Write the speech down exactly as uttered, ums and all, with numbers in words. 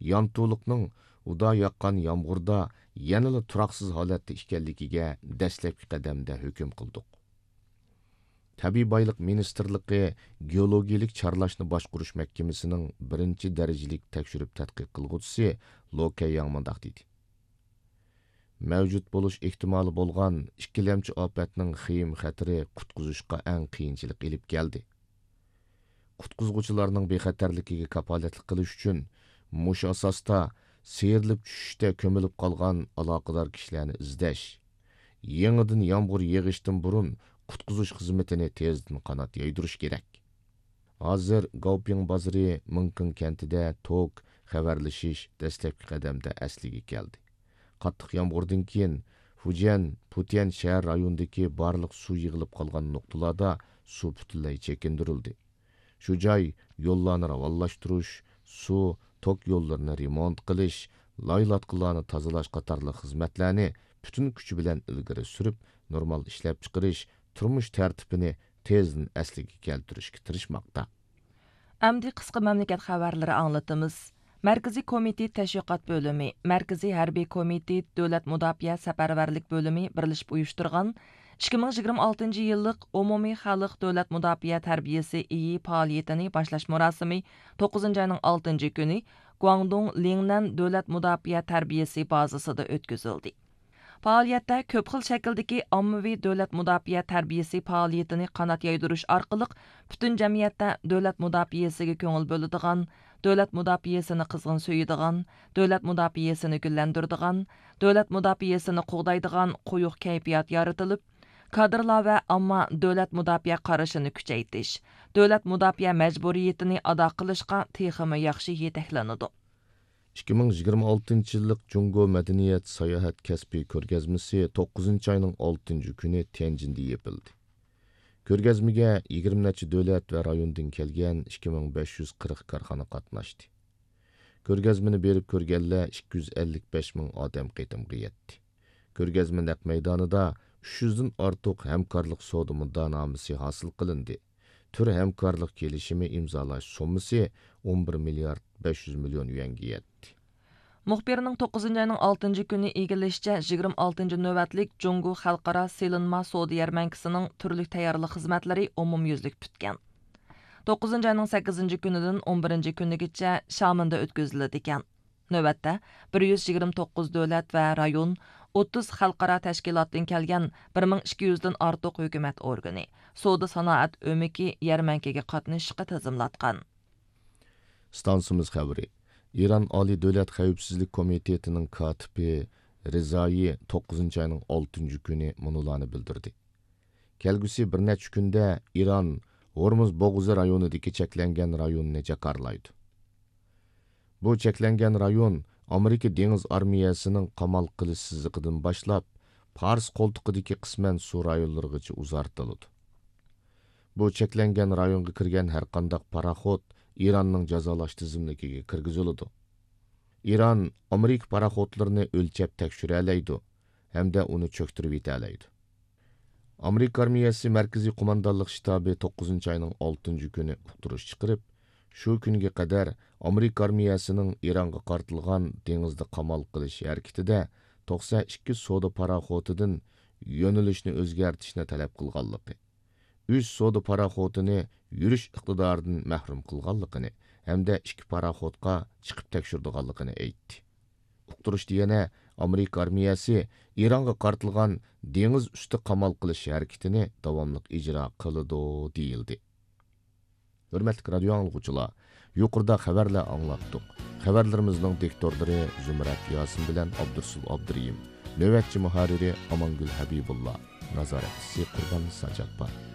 يانتۇلۇقنىڭ ئۇدا ياغقان يامغۇردا يەنىلا تۇراقسىز ھالەتتە ئىكەنلىكىگە دەسلەپكى قەدەمدە ھۆكۈم قىلدۇق. تەبىئىي بايلىق مىنىستىرلىقى گېئولوگىيىلىك چارلاشنى باشقۇرۇش مەھكىمىسىنىڭ بىرىنچى دەرىجىلىك تەكشۈرۈپ تەتقىق قىلغۇچىسى لو كەيياڭ مۇنداق دېدى: مەۋجۇت بولۇش ئېھتىمالى بولغان ئىككىلەمچى ئاپەتنىڭ خېيىم خەتىرى قۇتقۇزۇشقا ئەڭ قىيىنچىلىق ئېلىپ كەلدى. قۇتقۇزغۇچىلارنىڭ بىخەتەرلىكىگە كاپالەتلىك قىلىش ئۈچۈن، مۇشۇ ئاساستا سىيرىلىپ چۈشۈشتە كۆمۈلۈپ قالغان ئالاقىدار كىشىلەرنى ئىزدەش، يېڭىدىن يامغۇر يېغىشتىن بۇرۇن قۇتقۇزۇش خىزمىتىنى تېزدىن قانات يايدۇرۇش كېرەك. ھازىر گاۋپىڭ بازىرى مىڭكىڭ كەنتىدە توك، خەۋەرلىشىش دەسلەپكى قەدەمدە ئەسلىگە كەلدى. قاتتىق يامغۇردىن كېيىن، فۇجيەن، پۇتيەن شەھەر رايونىدىكى بارلىق سۇ يىغىلىپ قالغان نۇقتىلاردا سۇ پۈتۈنلەي چېكىندۈرۈلدى. شۇ جاي يوللارنى راۋانلاشتۇرۇش، سۇ، توك يوللىرىنى رېمونت قىلىش، لايلاتقۇلارنى تازىلاش قاتارلىق خىزمەتلەرنى پۈتۈن كۈچى بىلەن ئىلگىرى سۈرۈپ، نورمال ئىشلەپچىقىرىش، تۇرمۇش تەرتىپىنى تېزدىن ئەسلىگە كەلتۈرۈشكە تىرىشماقتا. ئەمدى قىسقا مەملىكەت خەۋەرلىرى ئاڭلىتىمىز. مەركىزىي كومىتېت تەشۋىقات بۆلۈمى، مەركىزىي ھەربىي كومىتېت دۆلەت مۇداپىئە سەپەرۋەرلىك بۆلۈمى بىرلىشىپ ئۇيۇشتۇرغان ئىككى مىڭ يىگىرمە ئالتىنچى يىللىق ئومۇمىي خەلق دۆلەت مۇداپىئە تەربىيەسى ئېيى پائالىيىتىنى باشلاش مۇراسىمى توققۇزىنچى ئاينىڭ ئالتىنچى كۈنى گۇاڭدۇڭ لىڭنەن دۆلەت مۇداپىئە تەربىيەسى بازىسىدا ئۆتكۈزۈلدى. پائالىيەتتە كۆپ خىل شەكىلدىكى ئاممىۋى دۆلەت مۇداپىئە تەربىيەسى پائالىيىتىنى قانات يايدۇرۇش ئارقىلىق پۈتۈن جەمئىيەتتە دۆلەت مۇداپىئەسىگە كۆڭۈل بۆلىدىغان، دۆلەت مۇداپىئەسىنى قىزغىن سۆيىدىغان، دۆلەت مۇداپىئەسىنى گۈللەندۈرىدىغان، دۆلەت مۇداپىئەسىنى قوغدايدىغان قويۇق كەيپىيات يارىتىلىپ، كادىرلار ۋە ئامما دۆلەت مۇداپىئە قارىشىنى كۈچەيتىش، دۆلەت مۇداپىئە مەجبۇرىيىتىنى ئادا قىلىشقا تېخىمۇ ياخشى يېتەكلىنىدۇ. ئىككى مىڭ يىگىرمە ئالتىنچى يىللىق جۇڭگو مەدەنىيەت ساياھەت كەسپىي كۆرگەزمىسى توققۇزىنچى ئاينىڭ ئالتىنچى كۈنى تيەنجىندە يېپىلدى. كۆرگەزمىگە يىگىرمە نەچچە دۆلەت ۋە رايوندىن كەلگەن ئىككى مىڭ بەش يۈز قىرىق كارخانا قاتناشتى. كۆرگەزمىنى بېرىپ كۆرگەنلەر ئىككى يۈز ئەللىك بەش مىڭ ئادەم قېتىمغا يەتتى. كۆرگەزمە نەق مەيدانىدا ئۈچ يۈزدىن ئارتۇق ھەمكارلىق سودا مۇددىئانامىسى ھاسىل قىلىندى. تۈر ھەمكارلىق كېلىشىمى ئىمزالاش سوممىسى ئون بىر مىليارد بەش يۈز مىليون يۈەنگە يەتتى. مۇخبىرنىڭ توققۇزىنچى ئاينىڭ ئالتىنچى كۈنى ئىگىلىشىچە، يىگىرمە ئالتىنچى نۆۋەتلىك جۇڭگو خەلقئارا سېلىنما سودا يەرمەنكىسىنىڭ تۈرلۈك تەييارلىق خىزمەتلىرى ئومۇميۈزلۈك پۈتكەن. توققۇزىنچى ئاينىڭ سەككىزىنچى كۈنىدىن ئون بىرىنچى كۈنىگىچە شامېندا ئۆتكۈزۈلىدىكەن. نۆۋەتتە بىر يۈز يىگىرمە توققۇز دۆلەت ۋە رايون، ئوتتۇز خەلقئارا تەشكىلاتتىن كەلگەن بىر مىڭ ئىككى يۈزدىن ئارتۇق ھۆكۈمەت ئورگىنى، سودا سانائەت ئۆمىكى يەرمەنكىگە قاتنىشىشقا تىزىملاتقان. ئىستانسىمىز خەۋىرى. ئىران ئالىي دۆلەت خەۋپسىزلىك كومىتېتىنىڭ كاتىپى رىزائىي توققۇزىنچى ئاينىڭ ئالتىنچى كۈنى مۇنۇلارنى بىلدۈردى. كەلگۈسى بىر نەچچە كۈندە ئىران ھورمۇز بوغۇزى رايونىدىكى چەكلەنگەن رايوننى جاكارلايدۇ. بۇ چەكلەنگەن رايون ئامېرىكا دېڭىز ئارمىيەسىنىڭ قامال قىلىش سىزىقىدىن باشلاپ، پارس قولتۇقىدىكى قىسمەن سۇ رايونلىرىغىچە ئۇزارتىلىدۇ. بۇ چەكلەنگەن رايونغا كىرگەن ھەرقانداق پاراخوت ئىراننىڭ جازالاش تىزىملىكىگە كىرگۈزۈلىدۇ. ئىران ئامېرىكا پاراخوتلىرىنى ئۆلچەپ تەكشۈرەلەيدۇ ھەمدە ئۇنى چۆكتۈرۈۋېتەلەيدۇ. ئامېرىكا ئارمىيەسى مەركىزىي قوماندانلىق شتابى توققۇزىنچى ئاينىڭ ئالتىنچى كۈنى ئۇقتۇرۇش چىقىرىپ، شۇ كۈنگە قەدەر ئامېرىكا ئارمىيەسىنىڭ ئىرانغا قارىتىلغان دېڭىزدا قامال قىلىش ھەرىكىتىدە توقسەن ئىككى سودا پاراخوتىدىن يۆنىلىشنى ئۆزگەرتىشنى تەلەپ قىلغانلىقى، ئۈچ سودا پاراخوتىنى يۈرۈش ئىقتىدارىدىن مەھرۇم قىلغانلىقىنى ھەمدە ئىككى پاراخوتقا چېقىپ تەكشۈرىدىغانلىقىنى ئېيتتى. ئۇقتۇرۇشتا يەنە ئامېرىكا ئارمىيەسى ئىرانغا قارىتىلغان دېڭىز ئۈستى قامال قىلىش ھەرىكىتىنى داۋاملىق ئىجرا قىلىدۇ، دېيىلدى. ھۆرمەتلىك رادىيو ئاڭلىغۇچىلار، يۇقىرىدا خەۋەرلەر ئاڭلاتتۇق. خەۋەرلىرىمىزنىڭ دىكتورلىرى زۇمرەت ياسىن بىلەن ئابدۇرسۇل ئابدۇرېھىم، نۆۋەتچى مۇھەررىرى ئامانگۈل ھەبىبۇللا، نازارەتچىسى قۇربان ساجاپپار.